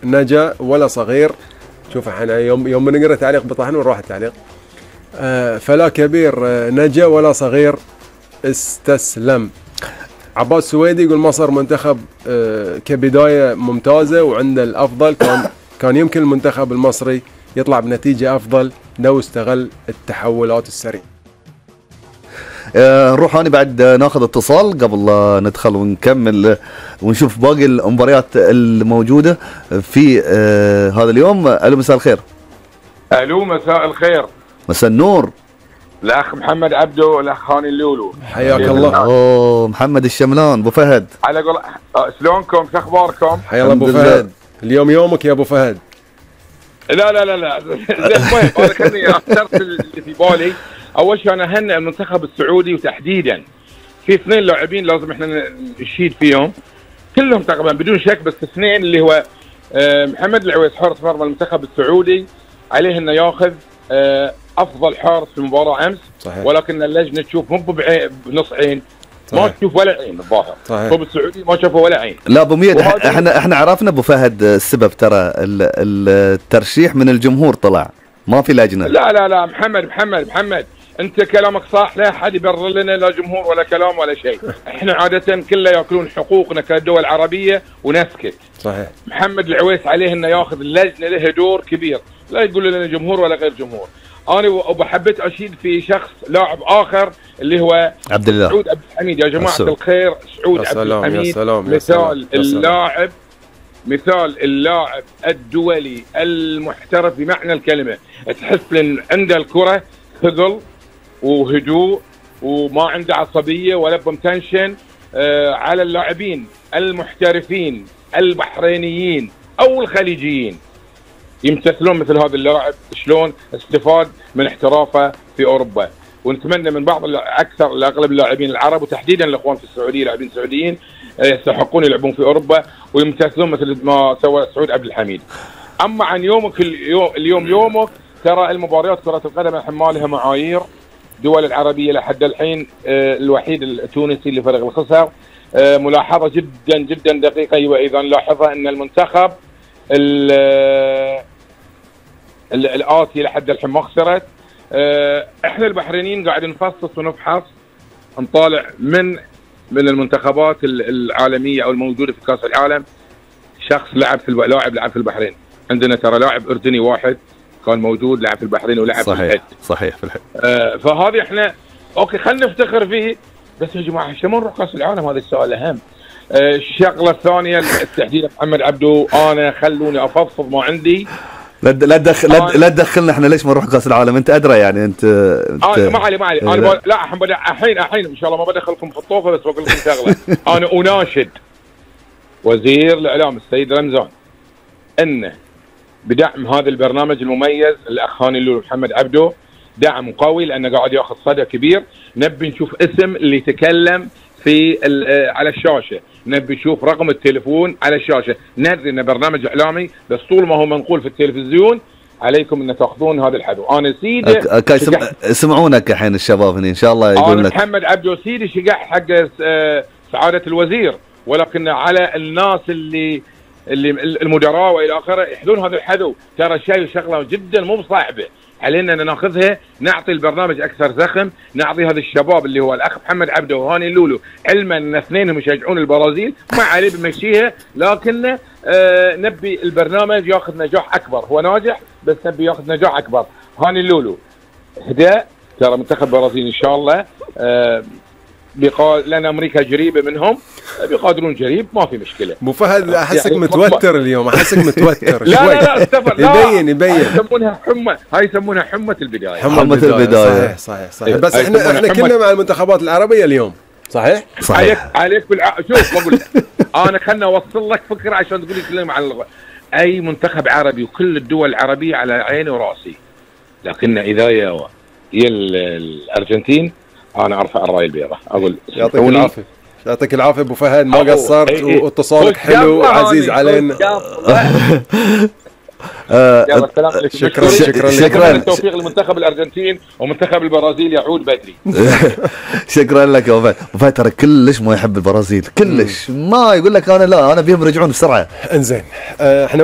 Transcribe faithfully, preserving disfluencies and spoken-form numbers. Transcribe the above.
نجا ولا صغير. شوف احنا يوم يوم نقرا تعليق بطحن ونروح التعليق. آه فلا كبير آه نجا ولا صغير استسلم. عباس سويدي يقول مصر منتخب آه كبداية ممتازة وعنده الأفضل، كان كان يمكن المنتخب المصري يطلع بنتيجة أفضل لو استغل التحولات السريعة. آه نروح هاني بعد ناخذ اتصال قبل لا ندخل ونكمل ونشوف باقي المباريات الموجودة في آه هذا اليوم. ألو مساء الخير. ألو مساء الخير. مساء النور. الأخ محمد عبده والأخ هاني اللولو. حياك الله. أوه محمد الشملان أبو فهد. على قول شلونكم؟ شو أخباركم؟ حيا الله أبو فهد. اليوم يومك يا أبو فهد. لا لا لا لا المهم أنا خليني أخترت اللي في بالي. أول شيء أنا أهنئ المنتخب السعودي وتحديدا في اثنين لاعبين لازم احنا نشيد فيهم كلهم تقريبا بدون شك، بس اثنين اللي هو محمد العويس حارس مرمى المنتخب السعودي عليه انه ياخذ افضل حارس في المباراه امس. صحيح. ولكن اللجنه تشوف مو بنص عين. صحيح. ما تشوف ولا عين الظاهر. الطب السعودي ما شافوا ولا عين. لا ابو ميد احنا احنا عرفنا ابو فهد السبب، ترى الترشيح من الجمهور طلع ما في لجنه. لا لا لا محمد محمد محمد انت كلامك صح، لا احد يبرر لنا لا جمهور ولا كلام ولا شيء. احنا عاده كله ياكلون حقوقنا كدول عربيه ونسكت. صحيح. محمد العويس عليه انه ياخذ اللجنه، له دور كبير، لا يقول لنا جمهور ولا غير جمهور. انا وحبيت اشيد في شخص لاعب اخر اللي هو عبد الله سعود عبد الحميد. يا جماعه السلام. الخير سعود عبد الحميد يا سلام. مثال يا سلام. اللاعب مثال اللاعب الدولي المحترف بمعنى الكلمه، تحس ان عنده الكره ثقل وهدوء وما عنده عصبيه ولا بمتنشن. آه على اللاعبين المحترفين البحرينيين او الخليجيين يمتثلون مثل هذا اللاعب شلون استفاد من احترافه في اوروبا. ونتمنى من بعض اكثر لاغلب اللاعبين العرب وتحديدا الاخوان في السعوديه لاعبين سعوديين يستحقون يلعبون في اوروبا ويمتثلون مثل ما سوى سعود عبد الحميد. اما عن يومك اليوم, اليوم يومك ترى المباريات كره القدم الحين لها معايير. الدول العربيه لحد الحين آه الوحيد التونسي اللي فرق الخسر. آه ملاحظه جدا جدا دقيقه وايضا لاحظها ان المنتخب الآتي لحد الحين ما خسرت. آه احنا البحرينيين قاعد نفصص ونفحص نطالع من من المنتخبات العالميه او الموجوده في كاس العالم شخص لعب في لاعب لعب في البحرين. عندنا ترى لاعب اردني واحد كان موجود لعب في البحرين ولعب صحيح. في الحد. صحيح في الحد. آه فهذه احنا اوكي خلينا نفتخر فيه، بس يا جماعه شو نروح كاس العالم؟ هذا السؤال الاهم. آه الشغله الثانيه التحديد محمد عبدو، انا خلوني افضفض ما عندي. لا لا تدخل لا تدخلنا احنا ليش ما نروح كاس العالم؟ انت ادرى يعني انت, انت آه ما علي ما علي انا لا, لا الحين الحين ان شاء الله ما بدخلكم في الطوفه، بس بقول لكم شغله. انا اناشد وزير الاعلام السيد رمزان انه بدعم هذا البرنامج المميز الاخ هاني اللولو محمد عبده، دعم قوي لانه قاعد ياخذ صدى كبير. نبي نشوف اسم اللي يتكلم في على الشاشه، نبي نشوف رقم التليفون على الشاشه. ندري انه برنامج اعلامي، بس طول ما هو منقول في التلفزيون عليكم ان تاخذون هذا الحذو. انا سيدي أك... سم... سمعونك الحين الشباب هنا ان شاء الله يقول لك. محمد عبده سيدي شقح حق سعاده الوزير، ولكن على الناس اللي اللي المدراء والى اخره يحذون هذا الحذو. ترى شيء شغله جدا مو بصعبه، علينا ان ناخذها نعطي البرنامج اكثر زخم، نعطي هذا الشباب اللي هو الاخ محمد عبده وهاني اللولو، علما ان اثنينهم يشجعون البرازيل ما عليه بمشيها، لكن آه نبي البرنامج ياخذ نجاح اكبر. هو ناجح بس نبي ياخذ نجاح اكبر. هاني اللولو هداء، ترى منتخب البرازيل ان شاء الله آه بقا... لان امريكا قريبه منهم بيقادرون قريب ما في مشكله. ابو فهد احسك يعني متوتر اليوم، احسك متوتر. لا لا لا استفر يبين يبين هاي يسمونها حمى، هاي يسمونها حمى البدايه. حمى البدايه صحيح صحيح صحيح. بس احنا احنا كنا مع المنتخبات العربيه اليوم. صحيح صحيح. عليك عليك بالع... شوف بقول لك انا خلنا اوصل لك فكره عشان تقول لي كلام عن اللغة. اي منتخب عربي وكل الدول العربيه على عيني وراسي، لكن اذا يا يا الارجنتين انا ارفع الرايه البيضاء. اقول يعطيك العافيه. يعطيك العافيه ابو فهد، ما قصرت واتصالك حلو وعزيز علينا. شكرا شكرا شكرا. التوفيق لمنتخب الارجنتين ومنتخب البرازيل يعود بدري. شكرا لك يا ابو فهد. ابو فهد ترى كلش ما يحب البرازيل، كلش ما يقول لك انا لا انا بيهم يرجعون بسرعه. انزين احنا